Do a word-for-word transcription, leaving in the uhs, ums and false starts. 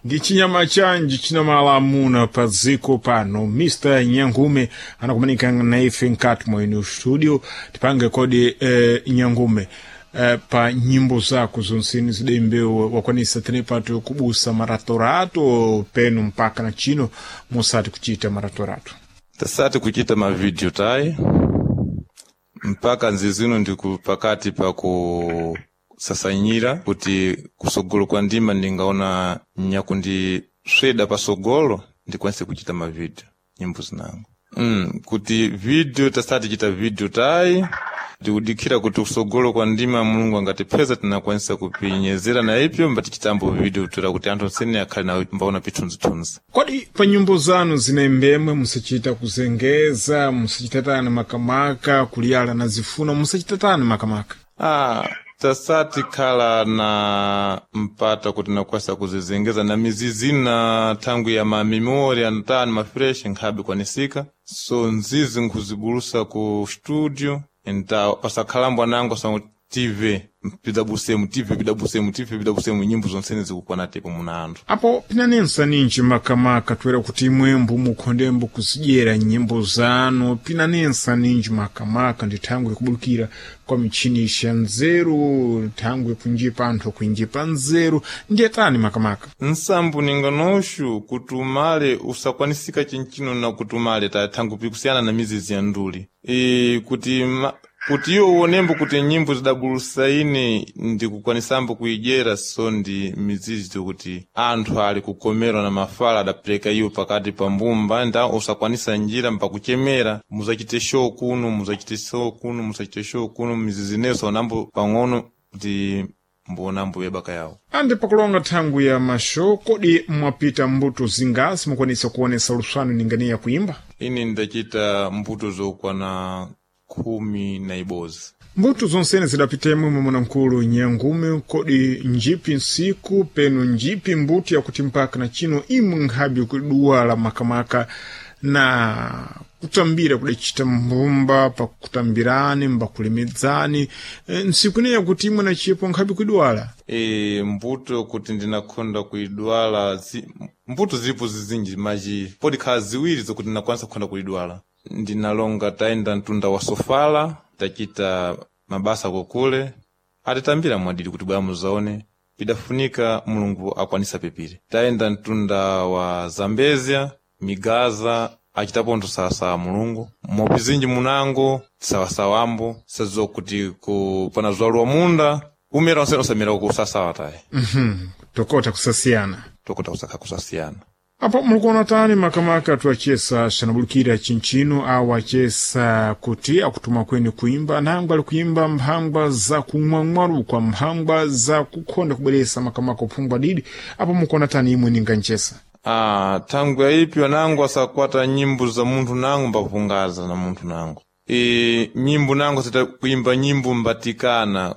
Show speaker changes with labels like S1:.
S1: Ndi chinyama chanji chinamala amuna pa dziko pano. Mister Nyangume anakumanika na ife nkati mwa ino studio. Tipange kodi, eh, Nyangume, eh, pa nyimbo zako zonseni zidembewe wakwanisa tenepato kubusa maratorato penu mpaka na chino musati kuchita maratorato?
S2: Tasati kuchita mavideo tayi mpaka nzizino ndiku pakati pa kusasanyira kuti kusogolo kwa ndima ndingaona nyakundisweda pasogolo ndikwanise kuchita mavideo nyimbo zinango mm, kuti video tasati chita video tayi, ndikudikhira kuti kusogolo kwa ndima Mulungu angatipeza tinakwanisa kupinyezera na ipyo mbati chitambo video toera kuti anthu onsene akhale na mbaona pithunzithunzi.
S1: Kodi pa nyimbo zanu zinembemwe musachita kuzengeza, musachitatani makamaka kuliyala na zifuna, musachitatani makamaka?
S2: Ah, tasati khala na mpata kuti nakwasa kuzizengeza na mizizi na thangwi ya mamemori antani mafresh nkhabe kwanisika, so nzizi nkhuzibulusa ku studio nta pasakhalambo anango sa T V pidabusemu T V pidabusemu T V pidabusemu nyimbo zonsene zikukwana tepo muna anthu.
S1: Apo pinanensa ninji makamaka toera kuti imwembo mukhondembo kuzidyera nyimbo zanu, pinanensa ninji makamaka ndi thangwi kubulukira kwa michini ya nzeru, thangwi kunjipa anthu kuinjipa nzeru, ndiye tani makamaka?
S2: Nsambu ninganoxu kuti umale usakwanisika chinchino na kuti umale ta thangwi pikusiyana na mizizi ya nduli e, kuti ma, kuti iwo uonembo kuti nyimbo zidabulusa ine ndikukwanisambo kuidyera, so ndi mizizi kuti anthu ali kukomerwa na mafala adapereka iwo pakati pa mbumba nda usakwanisa njira mpakuchemera muzachite show kuno, muzachite show kuno, muzachite show kuno, mizizi neso onambo pang'ono kuti mbonambo yebaka yawo.
S1: Andi pakulonga thangwi ya mashow, kodi mwapita mbuto zingasi mukwanisa kuonesa luswano ninganiya kuimba?
S2: Ine ndachita mbuto zokwana khumi na ibozi.
S1: Mbuto zonsene zidapitemwe mwamuna-mkulu Nyangume, kodi njipi nsiku penu njipi mbuto yakuti mpaka na chino imwe nkhabe kuduwala makamaka na kutambira kudacita mbumba pakutambirani mbakulemedzani, e, nsiku ineyi yakuti imwe na chipo nkhabe kuidwala?
S2: E, mbuto kuti ndinakhonda kuidwala zi, mbuto zilipo zizinji maji podikhala ziwiri zokuti ndinakwanisa kukhonda kuidwala. Ndinalonga tayenda mtunda wa Sofala, tachita mabasa kokule atitambira mwadidi kuti bwa muzaone pidafunika Mulungu akwanisa pepire. Tayenda mtunda wa Zambezia, Migaza, achitapo nthu sawasawa Mulungu mopizinji munango sawasawambo sadziwa kuti ku pana zwaluwa munda umera onsene osamera kusasawa tayi.
S1: mm-hmm. Tokota kusasiyana.
S2: Tokota kusakha kusasiyana.
S1: Apo mulikuona tani makamaka tuachesa xanabulukira chinchino awo achesa kuti akutuma kweni kuimba nangwa ali kuimba mphangwa za kumwamwarukwa, mphangwa za kukhonda kubweresa makamaka uphungwa didi, apo mukuona tani imwe ninga nchesa?
S2: Ah, thangwi yaipyo nango asakwata nyimbo za munthu nango mbapungaza na munthu nango e, nyimbo nango sita kuimba nyimbo mbatikana.